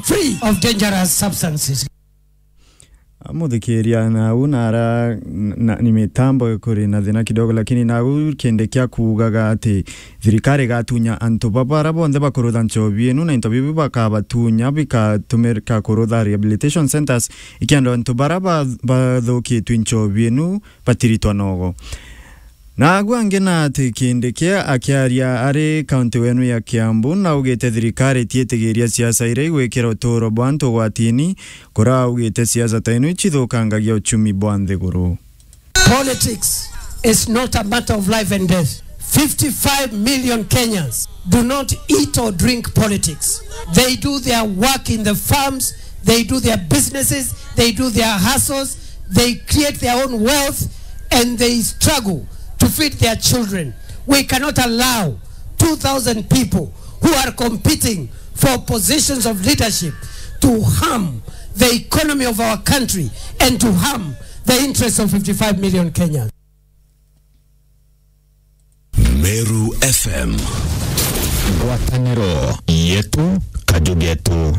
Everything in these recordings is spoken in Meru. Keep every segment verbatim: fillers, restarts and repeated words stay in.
free of dangerous substances. Muthikiria, nau nara na, ni mitambo ikuri na thina kidogo, lakini nau kindi kia kuugaga ati thirikari igatunya antu baba bara bonthe bakurutha nchobi inu, na into bibi bakabatunya bikatumika kurutha rehabilitation centres, ikienda antu bara ba-, bathukitue nchobi inu batiritwa nogo. Naagu angi na ati Kindiki akiaria ari kaunti wenu ya Kiambu, naugite thirikari itiitigiria siasa iria igwikira utuuro bwa antu ugwatini, kuria augite siasa ta ino icithukangagia uchumi bwa nthiguru. Politics is not a matter of life and death. Fifty-five million Kenyans do not eat or drink politics. They do their work in the farms, they do their businesses, they do their hustles, they create their own wealth, and they struggle to feed their children. We cannot allow two thousand people who are competing for positions of leadership to harm the economy of our country and to harm the interests of fifty-five million Kenyans. Meru F M. Ngwataniro yetu, kaju getu.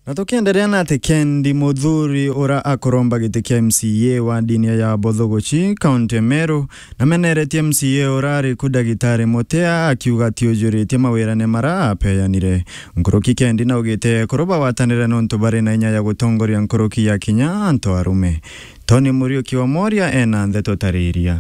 Na tukienderea na ati Kendi Muthuri, ura akuromba giti kia M C A wa ndini ya Bothogochi, kaunti ya Meru, nameneretie M C A ura ari ku Ndagitari Mutea, akiuga atiujuritie mawirane mara apeanire. Nkuruki Kendi naugite ekuru bagwatanire nontu bari na inya ya gutongoria nkuruki ya kinya antu arume. Tony Muriuki wa Moria ena ndeto tariria.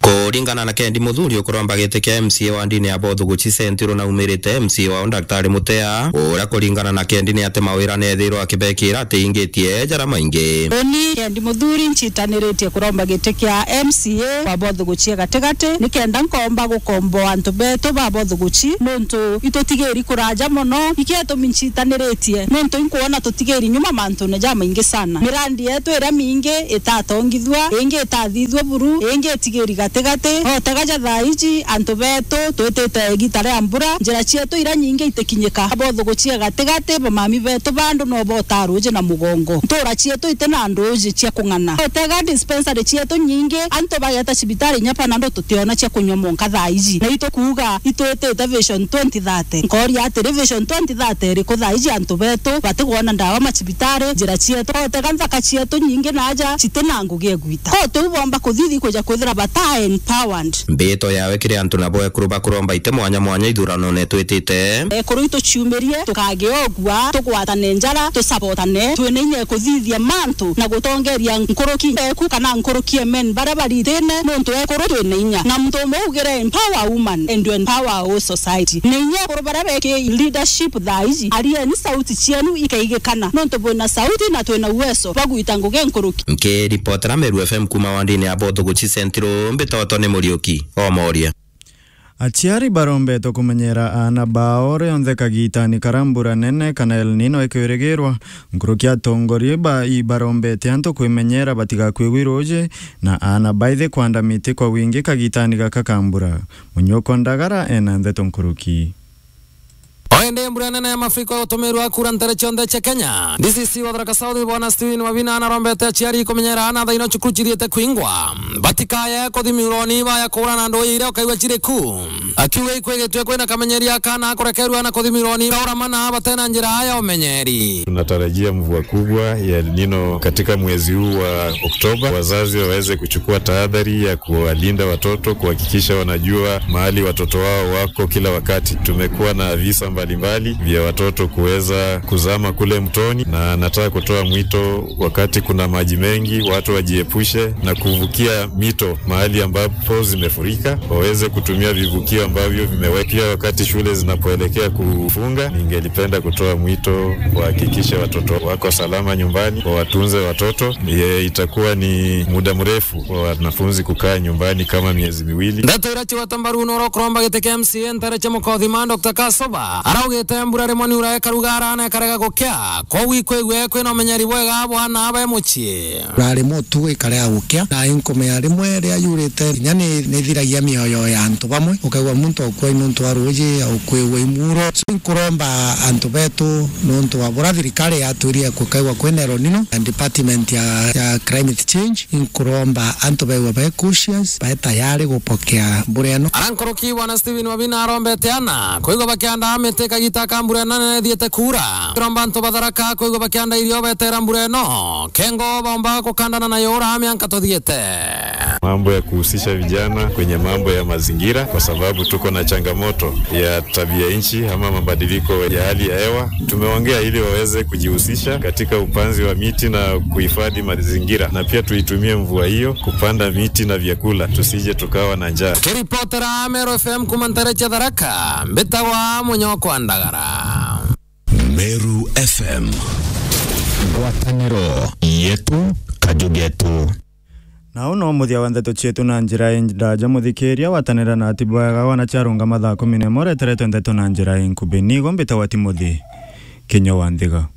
Kuringana na Kendi Muthuri, ukuromba giti kia M C A wa ndini ya Bothogochi Central naumirite M C A wao Daktari Mutea, uria kuringana na Kendi ni ati mawira neethirwa akibekira atiingitie jara maingi. Uni Kendi Muthuri ncitaniritie kuromba giti kia M C A wa Bothogochi ya gatigati, nikenda nkomba gukomboa antu betu ba Bothogochi, nontu itutigiri kuraja mono. Ikietumi ncitaniritie, nontu inkwona tutigiri nyuma mantune jamaingi sana. Mirandi yetu iria mingi itatongithua, ingi itathithua buru, ingi itigiri gatigati. Otega ja thaa iji, antu betu twitite igita ria mbura, njira cietu iria nyingi itikinyika. Bothogochi ya gatigati, bamami betu bandu no bota ruuji na mugongo. Ntura cietu iti na nduuji cia kung'ana. Otega dispensary cietu nyingi, antu bageta cibitari inya Panadol tutiona cia kunywa monka thaa iji. Na itukuuga itwitite Vision twenty thirty. Nkoria atiri, Vision twenty thirty iriku thaa iji antu betu batigwona ndawa macibitari, njira cietu, otega nthaka cietu nyingi naja citi na ngugi egwita. Ko tiu bomba kuthithi kuja kwithira bata empowered. Mbito yawe kiri antu nabo ekuru bakuromba iti mwanya mwanya ithuranone twitite. Ekuru ituciumirie, tukagiogua, tugwatane njara, tusabotane, twina inya kuthithia mantu na gutongeria nkuruki eku kana nkuruki emen baria baritine, nontu ekuru twina inya. Na muntu umwe ugire empower woman and you empower our society. Ni inya ekuru baria beki leadership thaa iji, arieni sauti cienu ikaigikana, nontu bwina sauti na twina uwezo bwa gwita ngugi nkuruki. Nkiripotera Meru F M kuma wandini ya Bothogochi Central, mbitotwa ni Muriuki o Moria. Aciari barombetwe kumenyera aana bao rionthe kagitani karia mbura nene kana El Nino ikwirigirwa. Nkuruki atongoria ba, ibarombete antu kwimenyera batigakuigwe ruuji, na aana baithi kwanda miti kwa wingi kagitani gaka ka mbura. Munyuko Ndagara ena ndeto nkuruki. O indi mbura nene ya mafuriko igutumirwa kura ntere cionthe cia Kenya. D C C wa Tharaka South, Bwana Stephen Wabina, narombete aciari kumenyera aana thaino cukuru cithiite kwingwa. Batikaye kuthimirwa ni baya kuura na nduu iria ukaigua ciri ku. Akiuga ikwigitue kwina kamenyeria kana kurekerua na kuthimirwa ni kaura mana batena njira ya umenyeri. Tunatarajia mvua kubwa ya El Nino katika mwezi huu wa Oktoba. Wazazi waweze kuchukua tahadhari ya kuwalinda watoto, kuhakikisha wanajua mahali watoto wao wako kila wakati. Tumekuwa na visa mbalimbali vya watoto kuweza kuzama kule mtoni, na nataka kutoa mwito, wakati kuna maji mengi, watu wajiepushe na kuvukia mito mahali ambapo zimefurika, waweze kutumia vivukio ambavyo vimewekwa. Pia wakati shule zinapoelekea kufunga, ningelipenda kutoa mwito wahakikishe watoto wako salama nyumbani, wawatunze watoto. Ye, itakuwa ni muda mrefu wa wanafunzi kukaa nyumbani kama miezi miwili. Ndeto iria cigwete mbaru ni uria ukuromba giti kia M C A ntere cia Mukothima, Doctor Kasoba, araugite mbura rimwe ni ura ikarugara na ikarega gukia, koguo ikwigua kwina umenyeri bwega bwa aana be mucii. Rari mutugo ikarega gukia, na inkumenya rimwe riria yurite, kinya ni, nithiragia mioyo ya antu bamwe, ukaigua muntu akua nontu wa ruuji, au kwigua imuro. So, inkuromba antu betu, nontu wa bura thirikari yatwirie kukaigua kwina El Nino, na department ya, ya climate change, inkuromba antu baigua bai cautious, bai tayari gupokea mbura ino. Ara nkuruki Bwana Stephen Wabina arombete ana, kwigua bakiandaa miti Te kagita ka mbura ino nene ithiite kuura. Turomba antu ba Tharaka kwigua bakianda irio betera mbura ino. Kengo baumba gukandana nayo ura mianka tuthiite. Mambo ya kuhusisha vijana kwenye mambo ya mazingira, kwa sababu tuko na changamoto ya tabia nchi ama mabadiliko ya hali ya hewa. Tumeongea ili waweze kujihusisha katika upanzi wa miti na kuhifadhi mazingira, na pia tuitumie mvua hiyo kupanda miti na vyakula, tusije tukawa na njaa. Kiripotera Meru F M kuma ntere cia Tharaka, mbitagwa Munyokwa Ndagara. Meru F M. Ngwataniro yetu, kaju getu. Na uu no muthia wa ndeto cietu na njira indaja. Muthikiria, watanira na ati bwega wana ciarungama thaa kumi na imwe, ureteretwe ndeto na njira inkubi. Nigo mbitagwa Timothy Kinya wa Nthiga.